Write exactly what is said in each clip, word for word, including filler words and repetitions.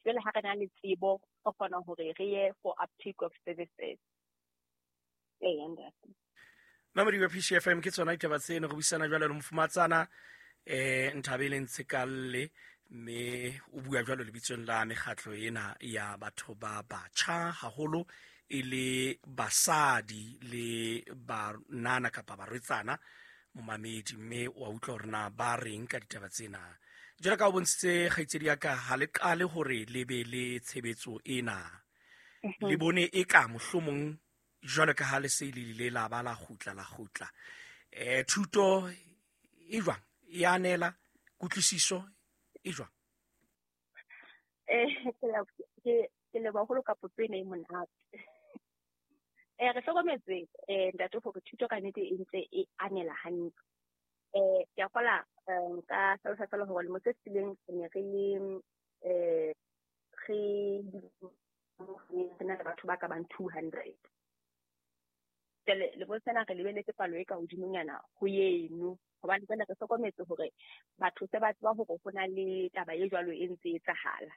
Jwale ha re na le tsebo, re kgona hore re ye for uptake of services. Ee, ntate. Mamedi wa P C F M, ke tsona ditaba tseno. Re buisana jwalo le mofumatsana eh Nthabeleng Tshekalle, mme o bua jwalo lebitsong la mekgatlo ena ya batho ba batjha, haholo e le basadi le banana kapa barwetsana, momamedi. Mme wa utlwa hore na ba reng ka ditaba tsena. Jwalo ka o bontshitse, kgaitsedi ya ka, ha le qale hore le be le tshebetso ena, le bone e ka mohlomong jwalo ka ha le se le ile la ba la kgutla la kgutla eh thuto e jwang e anela kutlwisiso e jwang? Eh ke ke leboha haholo ka potso ena e monate. Eh re hlokometse, eh ntate, hore thuto ka nnete e ntse e anela hantle. Eh ke a kgola nka hlalosa fela hore lemo se fetileng re ne re le eh re re na le batho ba ka bang two hundred. Jwale lemong sena re lebeletse palo e ka hodimonyana ho eno, hobane jwale re hlokometse hore batho se ba tseba hore ho na le taba e jwalo e ntse etsahala.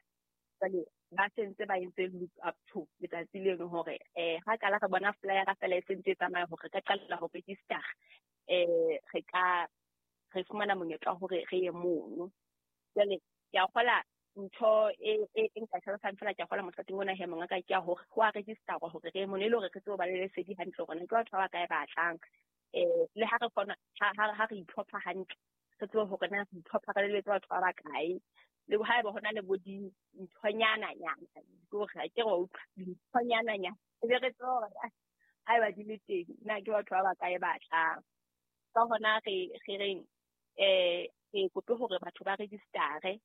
Jwale ba sentse ba entse look up to letsatsi leno hore eh ha qala re bona flyer fela e sentse e tsamaya hore re ka qalella ho register, eh re ka re fumana monyetla wa hore re ye mono. Jwale ke a kgola ntho e e nka hlalosang fela, ke a kgola mothating ona he, mongaka, ke ya hore ho a register-wa hore re ye mono, e le hore re tsebe ho ba le lesedi hantle hore na ke batho ba bakae ba tlang. Eh le ha re kgona ha ha re itlhopha hantle, re tsebe hore na re itlhopha re lebetse batho ba bakae, le haeba hona le bo dinthonyana nyana, ke hore ha ke re wa utlwa dinthonyana nyana, e be re tsebe hore haeba di le teng na ke batho ba bakae ba tlang. Ka hona re re reng eh re kope hore batho ba register-e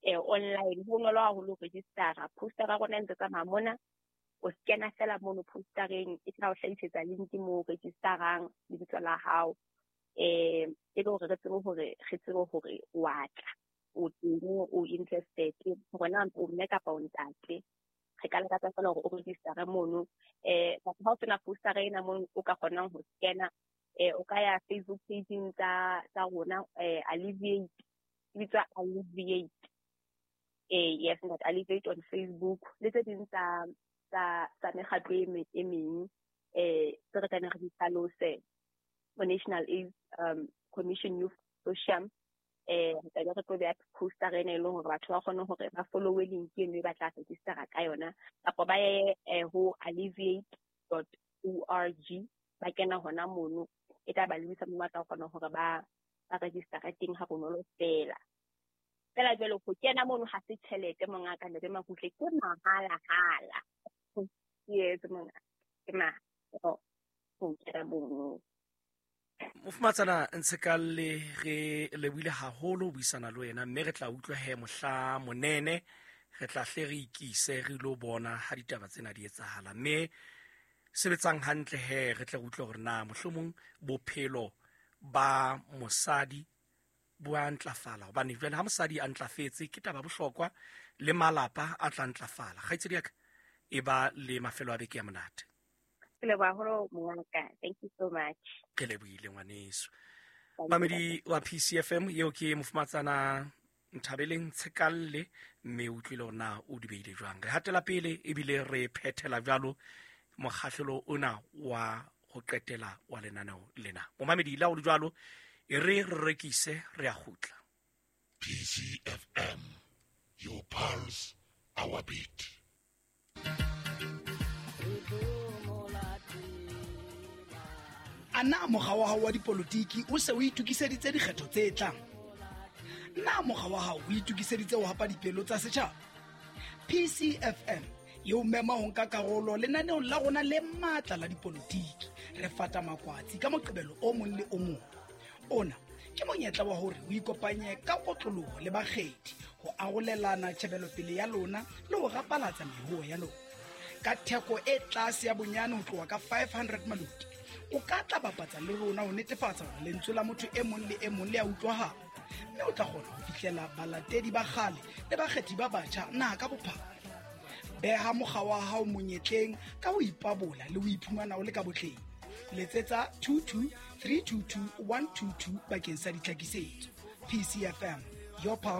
eh online. Ho bonolo haholo ho register-a. Poster ya rona e ntse tsamaya mona, o scanner fela mono postereng, e tla o hlahisetsa link moo o register-ang lebitso la hao, eh e le hore re tsebe hore re tsebe hore wa tla, o teng, o interested, hore na o mme kapa o ntate. Re ka lakatsa fela hore o register-e mono. Eh ha o sena poster ena mono o ka kgonang ho scanner, eh o ka ya Facebook page-ing tsa tsa rona, eh Alleviate, e bitswa Alleviate. Eh yes, ntate, Alleviate on Facebook le tse ding tsa tsa tsa mekgatlo e e meng eh tse re tla re di hlalose mo National AIDS um Commission Youth Consortium. Eh re tla be re tlo beha poster ena e leng hore batho ba kgone hore ba follow-e link eno e ba tla register-a ka yona, kapa ba ye ho alleviate dot org, ba kena hona mono, e tla ba lebisa moo ba tla kgona hore ba ba register-a teng ha bonolo fela. Fela jwale ho kena mono ha se tjhelete, mongaka Ntate Makutle, ke mahala-hala. Yes, mongaka, ke mahala ho kena mono. Mofumatsana Ntshekalle, re lebohile haholo ho buisana le wena, mme re tla utlwa he mohla monene re tla hle re ikise re ilo bona ha ditaba tsena di etsahala. Mme sebetsang hantle he, re tle re utlwe hore na mohlomong bophelo ba mosadi bo a ntlafala, hobane jwale ha mosadi a ntlafetse ke taba bohlokwa, le malapa a tla ntlafala. Kgaitsedi ya ka, e ba le mafelo a beke ya monate. Ke leboha haholo, mongaka. Thank you so much. Ke lebohile, ngwaneso. Mamedi wa P C F M, eo ke mofumatsana Nthabeleng Tshekalle, mme o utlwile hore na o di beile jwang. Re hatela pele ebile re phethela jwalo mokgahlelo ona wa ho qetela wa lenaneo lena. Momamedi, le ha o le jwalo, e re re rekise, re a kgutla. P C F M, your pulse, our beat. A na mokga wa hao wa dipolotiki o se o itokiseditse dikgetho tse tlang? Na mokga wa hao o itokiseditse ho hapa dipelo tsa setjhaba? P C F M e o mema ho nka karolo lenaneong la rona le matla la dipolotiki, Re Fata Makwatsi, ka Moqebelo o mong le o mong. Ona ke monyetla wa hore o ikopanye ka kotloloho le bakgethi ho arolelana tjhebelopele ya lona le ho rapalatsa mehuo ya lona. Ka theko e tlase ya bonyane ho tloha ka five hundred maloti, o ka tla bapatsa le rona ho netefatsa hore lentswe la motho e mong le e mong le a utlwahala, mme o tla kgona ho fihlela balatedi ba kgale le bakgethi ba batjha naha ka bophara. Beha mokga wa hao monyetleng ka ho ipabola le ho iphumana o le ka botleng. Letsetsa two two three two two one two two bakeng sa ditlhakisetso. P C F M, your power.